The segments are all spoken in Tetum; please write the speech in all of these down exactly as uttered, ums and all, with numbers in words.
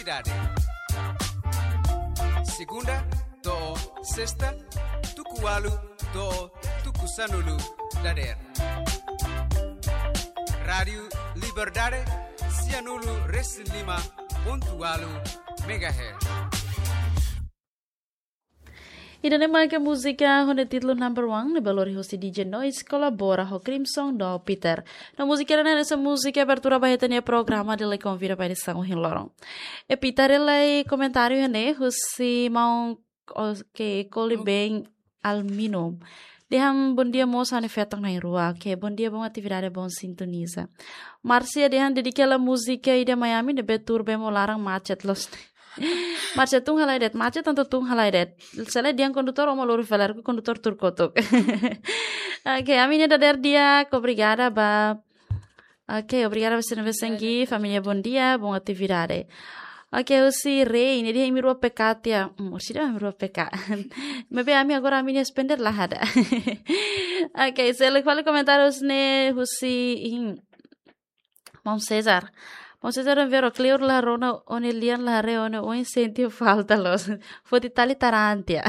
Liberdade. Segunda to'o sesta, tuku ualu to'o tuku sanulu dadeer. Rádiu Liberdade, sianulu resin lima pontu ualu megahertz. Ida-ne'e maka múzika ho nia títulu Number One, ne'ebé lori husi D J Noise, kolabora ho Crimson no Peter. No múzika ida-ne'e hanesan múzika abertura ba ita-nia programa, ha'u konvida ba ita ohin loron. E Peter, haree lai komentáriu iha ne'e husi maun, oke, Koli Ben Almino. Dehan bom dia mós ha'u-nia feton na'in-rua. Oke, bom dia, bom atividade, bom sintoniza. Márcia dehan dedika hela múzika ida Miami ne'ebé tuur bee mós laran macet loos. Márcia, tun halai de'it, macet tanba tun halai de'it. Se lae dehan kondutór ó mak lori fali, kondutór tuur kotuk. Oke, ami-nia dadeer di'ak, obrigada ba. Oke, obrigada ba sira ne'ebé segue, família bom dia, bom atividade. Oke, husi Rei, nia dehan imi rua peka tiha. Hmm, orsida imi rua peka. Maibé ami agora ami-nia spender la iha. Oke, seluk fali komentáriu husi ne'e husi, hmm, Maun César. Maun César, vero kleur la rona ó-nia lian, la haree ó-nia oin, sente falta loos. Foti tali taran tiha.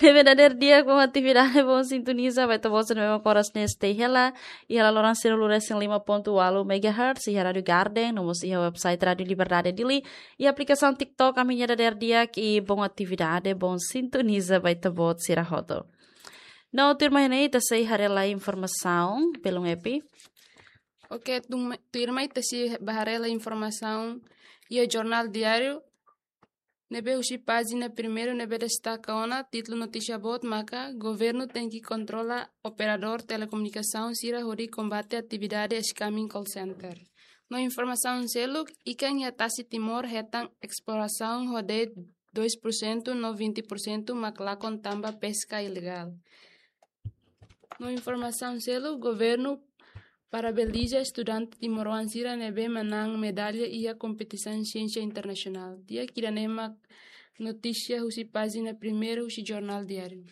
Ne'ebé dadeer di'ak, bom atividade, bom sintoniza ba ita-boot sira ne'ebé mak oras ne'e stay hela iha laloran sianulu resin lima pontu ualu megahertz, iha Rádiu Garden, no mós iha website Rádiu Liberdade Dili, iha aplikasaun TikTok, ami-nia dadeer di'ak, i bom atividade, bom sintoniza ba ita-boot sira hotu. No tuirmai ne'e ita sei haree lai informasaun, belun Epi. Oke, tun-, tuirmai ita sei bá haree lai informasaun iha Jornál Diáriu, ne'ebé husi pájina primeiru ne'ebé destaka ona, títulu notísia boot maka, Governu tenke kontrola operadór telekomunikasaun sira hodi kombate atividade scamming call center. No informasaun seluk, ikan iha tasi Timor hetan esplorasaun ho de'it dois por cento no vinte por cento mak lakon tanba peska ilegál. No informasaun seluk, Governu parabeniza estudante timoroan sira ne'ebé manán medalla iha kompetisaun siénsia internasionál. Di'ak, ida-ne'e mak notísia husi pájina primeiru husi Jornál Diáriu.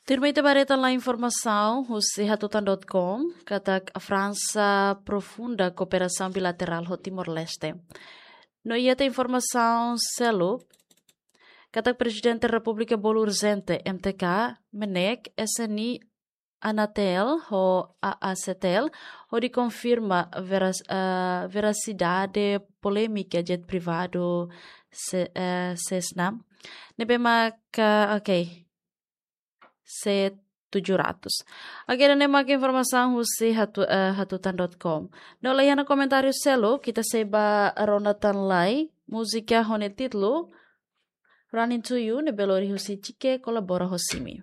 Tuirmai ita bá haree tan lai informasaun husi hatutan dot com, katak Fransa aprofunda kooperasaun bilaterál ho Timor-Leste. No iha tan informasaun seluk, katak Prezidente Repúblika bolu urjente M T K, MNEK, S N I, Anatel ho A A C T L, hodi konfirma veras-, eh, verasidade polémika jet privadu Se-, eh, Cessna. Ne'ebé maka, oke. C tujuh ratus. Oke, ida-ne'e maka informasaun husi hatu-, eh, hatutan dot com. No la iha ona komentáriu seluk, ita sei bá rona tan lai múzika ho nia títulu Running to You, ne'ebé lori husi Chike, kolabora ho Simi.